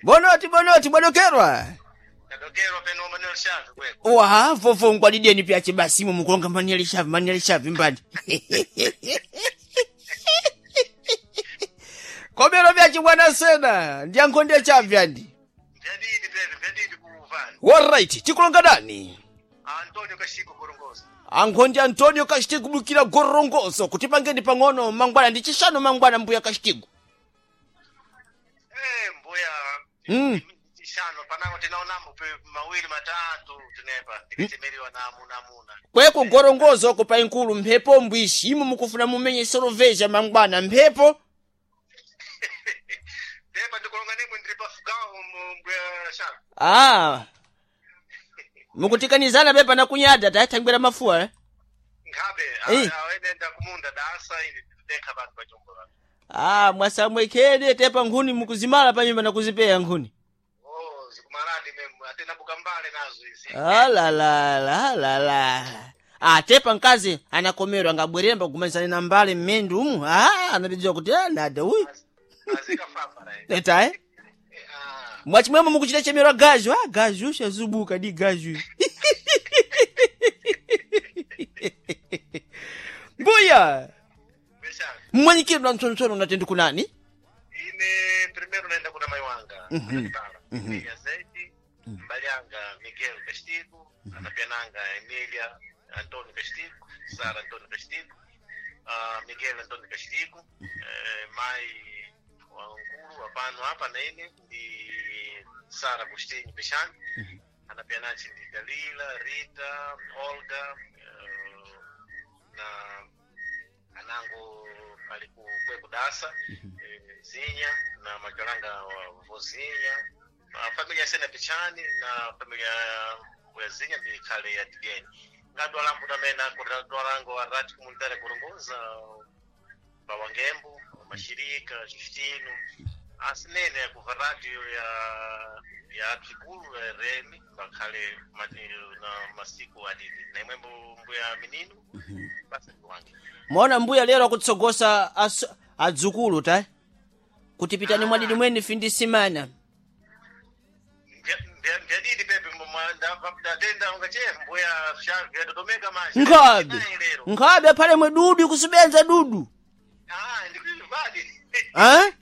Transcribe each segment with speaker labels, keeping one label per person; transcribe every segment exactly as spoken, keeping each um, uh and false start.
Speaker 1: Bonoti bonoti bwadokerwa.
Speaker 2: Tadokerwa peno Manuel Shavi kweko.
Speaker 1: Wa vovo ngwalideni pyache basi mu mukulonga Manuel Shavi Manuel Shavi mbali. Komero vyache bwana sena ndiyankhonde chavi andi.
Speaker 2: Vyadidi pepe vyadidi kuuvani.
Speaker 1: Alright, tikulonga dani.
Speaker 2: Antonio Kashiko Korongoso.
Speaker 1: Ankhonde Antonio Kashitigu bukira gorongoso kuti pangeni pang'ono mangwana ndi chishanu mangwana mbuya Kashitigu.
Speaker 2: Eh mbuya.
Speaker 1: Mm.
Speaker 2: Chishano panango tinaonambo pe mawili matatu tinepa tikachemeriwa na amuna amuna.
Speaker 1: Kweko gorongozo ko pa inkulu mphepo mbwishi imo mukufuna mumenye soloveja mangwana mphepo.
Speaker 2: Pepa ndikulonga nemwe ndiri pafugawo mbuya Shavi.
Speaker 1: Ah. Mukutikanizana pepa na kunyada tathangwera mafuwa eh?
Speaker 2: Nkhabe
Speaker 1: Eh.
Speaker 2: awenenda kumunda dasa ili dekha bantu pachombora.
Speaker 1: Ah, mwasamwekede tepa nkhuni mukuzimala pa nyumba na kuzipeya nkhuni.
Speaker 2: Oh zikumaladi memu atena bukambale nazo izi.
Speaker 1: Ah la la la la la. Ah, tepa mkazi anakomerwa angabwerera pakumalizana na mbale mmendu umu. Ah, anapidziwa kuti ah, nada uyu.
Speaker 2: Azikafamba naye.
Speaker 1: Eta eh?
Speaker 2: Ah.
Speaker 1: Mwachimwemo mukuchita chemerwa gaju. Ah, gaju shazubuka di gaju. Mbuya,
Speaker 2: Mbuya Shavi.
Speaker 1: mmwanyikidwa mtsontsoro unatenda kunani?
Speaker 2: Ine primeiro naenda kuna mai wanga
Speaker 1: Mhm.
Speaker 2: mm
Speaker 1: Mhm.
Speaker 2: -hmm. Zaidi mbali yanga Miguel Castigo anapiananga Emilia Antonio Castigo Sara Antonio Castigo uh, Miguel Antonio Castigo eh, mai wankulu wapano hapa naine ndi Sara Agostinho Peixani anapianachi ndi Dalila Rita Olga eh, na anango ali ku kwe kudasa eh, Zinya na majalanga wa Vozinha na familia sena Pichani na familia ya Zinya ndikhale ya Tigeni ngadwalambo tamene akudwalango arati komunitari kurongoza pawangembo mashirika Justino asinene kuva radio ya ya Trikulu ya R M bakhale mati- na masiku adidi na imwembo mbuya minino basi ndiwange
Speaker 1: Mwaona mbuya lero akutsogosa as- adzukulu ta kuti pitani mwadidi mwene findisimana.
Speaker 2: Mbyadidi pepe ndatenda ungache mbuya vyadodomeka manje
Speaker 1: Nkhabe.
Speaker 2: Nayi lero
Speaker 1: Nkhabe aphale mwe dudu ikusubenza dudu.
Speaker 2: Ah, ndikuivadi
Speaker 1: Eh?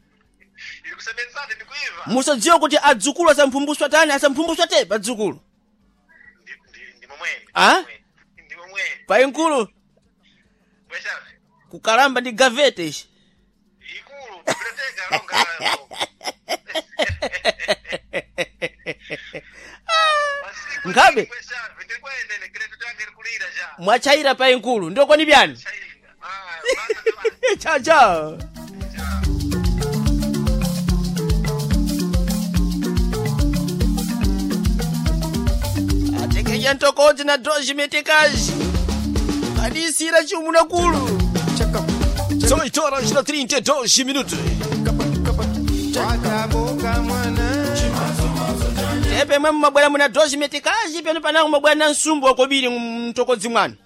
Speaker 2: ilikusebenzani ndikuiva
Speaker 1: Musadziwa kuti adzukulu asamphumbuswa tani asamphumbuswa tepa adzukulu.
Speaker 2: Ndi- ndi- ndi momwene
Speaker 1: Ah?
Speaker 2: ndi momwene
Speaker 1: Painkulu
Speaker 2: bweshavi
Speaker 1: kukalamba ndi gavete ishi.
Speaker 2: ikulu biblioteka longa Masiku
Speaker 1: Nkhabe.
Speaker 2: bweshavi ndikwenene kileto change likulira cha
Speaker 1: Mwachayira painkulu ndokoni byani?
Speaker 2: chaira ah basa ndiwa
Speaker 1: Chao chao. Atekeja ntokodzi na doji metekaji. Adisira chumuna kulu. São horas na trinta e dois minutos.
Speaker 3: Wakaboka mwana
Speaker 1: Tepe mwe mumabwera muna doji metekaji pano panango mabwera na nsumbu wakobiri mtokodzi mwanu.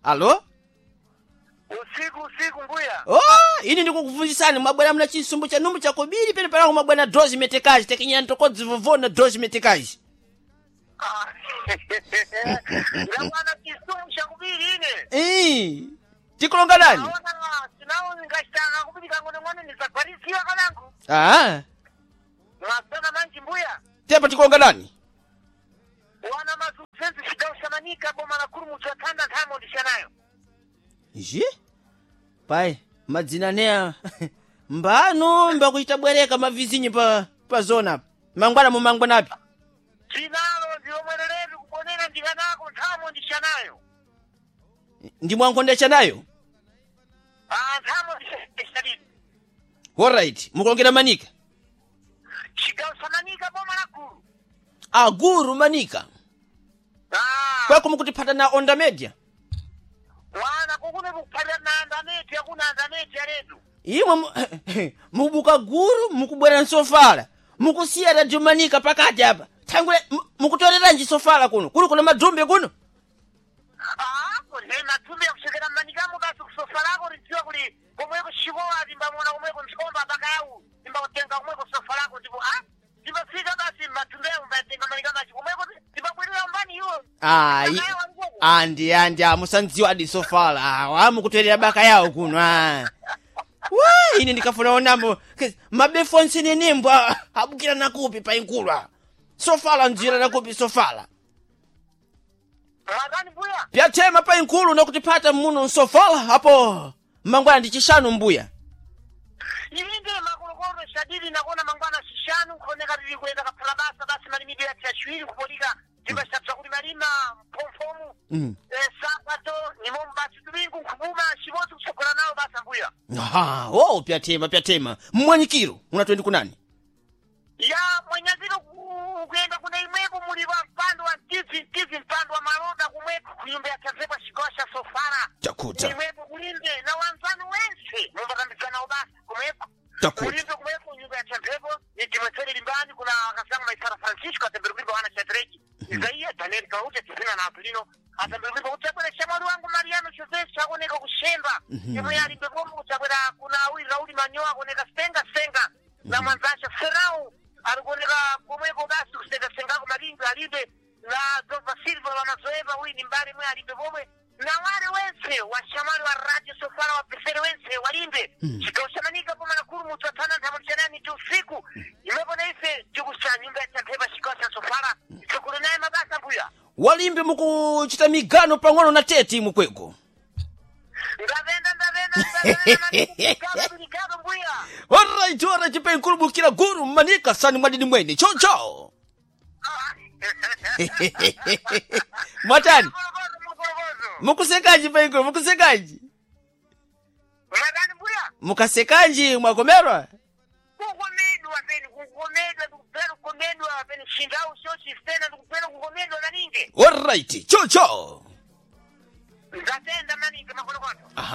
Speaker 1: Alo?
Speaker 2: Usiku usiku mbuya
Speaker 1: Oh, ini ndikukuvunzisani mwabwera muna chisumbu cha numbu chakobiri pano panango mabwera na doji metekaji tekenyera ntokodzi vovona doji metekaji.
Speaker 2: ndakwana chisumu chakubiri ine
Speaker 1: Ii, tikulonga nani?
Speaker 2: aona sinawo ngachitanga kubiri kang'ono-ng'ono ndisagwarisiwa kanangu
Speaker 1: Ah,
Speaker 2: mwasana manji mbuya
Speaker 1: tepa tikulonga nani?
Speaker 2: wana mazuzezi chidaushamanika boma la kulu mutu athanda nthamo ndishanayo
Speaker 1: Ixi? Pai, madzina neya mbano mbakuchita bwereka mavizinyi pa pa zona apa. Mangwana mumangwana api?
Speaker 2: tinalo ndilomwereretu kubonera ndikanako nthamo ndishanayo
Speaker 1: Ndi mwankhondesha nayo?
Speaker 2: Ah, nthamo ndishanidi
Speaker 1: Alright, mukulongera manika.
Speaker 2: chidaushamanika boma la kulu
Speaker 1: Aguru manika.
Speaker 2: Ah,
Speaker 1: Kweko mukutiphata na onda media.
Speaker 2: wana kukune kukuphatira na andameti akuna andameti aletu
Speaker 1: Imwe mu- mukubuka guru mukubwera nsofala. Mukusiya radio manika pakati apa. Thangule mu- mukutoleranji sofala kuno. Kuli kuna madhumbe kuno.
Speaker 2: Ah, ne matumbi akuchokera mmanikamo basi kusofa lako lidziwa kuli komweko chikowa timbamona komweko ntsomba pakau
Speaker 1: Ayi. Andi andi amusandziwa adi sofala awa amukutwerera baka yawo kuno ah. Wa ine ndikafuna onamo mabefu onse nenembo abukira nakupi painkulwa sofala ndzira nakupi sofala
Speaker 2: Mwakani mbuya
Speaker 1: pyatema painkulu nakutipata muno nsofala apo mangwana ndi chishanu mbuya
Speaker 2: ilinde makolokolo shadidi nakona mangwana shishanu nkhoneka tili kuyenda kaphala basa basi malimidwe yathu yaciwiri kupolika timbasabza kuti malima mphomphomu
Speaker 1: Mm.
Speaker 2: eh, sapato nimomu basi domingo nkhupuma cibodzi kutsogola nawo basa mbuya
Speaker 1: aha oh pyatema pyatema mmwanyikiro unatwendi kunani
Speaker 2: ya mwanyaziro ku- kuyenda kuna imwepo muli wa mpando wa mtizi mtizi mpando wa maloda kumweko kunyumba ya tazekwa chigawo cha sofala
Speaker 1: chakuta
Speaker 2: imwepo kulimbe na wanzanu wense mumbatambidzanawo basa kumweko
Speaker 1: Takuta.
Speaker 2: kulimbe kumweko nyumba ya champhepo nitimwetsere limbani kuna akazangu maisara francisco atembere kulimba wana chatreki isaiya daniel kaute tizina na apilino atembere kulimba kutsabwera shamwali wangu mariano jose chakoneka kushemba imwe alimbe pomwe kutsabwera kuna awiri rauli manyowa akoneka senga senga na mwanzacha serau alikuoneka komweko basi kusengasengako malimbe alimbe na dova silva wamazoeva uyi ni mbali mwe alimbe pomwe na wale wense washamali wa radio sofala wa pesere wense walimbe chigawo chamanika poma nakulu mutu atana nthamulichanani ti usiku imwepo na ife tikusa nyumba ya champhepa chigawo cha sofala tsogolo naye mabasa mbuya
Speaker 1: walimbe mukuchita migano pang'ono na tete mukwego
Speaker 2: ndavenda ndavenda ndavenda migano mbuya
Speaker 1: alright alright painkulu bukira guru mmanika sani mwadidi mwene chocho mwatani
Speaker 2: Makolokozo, makolokozo.
Speaker 1: mukusekaji painkulu mukusekaji
Speaker 2: Mwatani mbuya
Speaker 1: mukasekanji mwakomerwa
Speaker 2: kukomedwa peni kukomedwa ndikupera kukomedwa peni chindau chochifena ndikupera kukomedwa maningi
Speaker 1: alright chocho
Speaker 2: ndatenda maningi makolokoto
Speaker 1: aha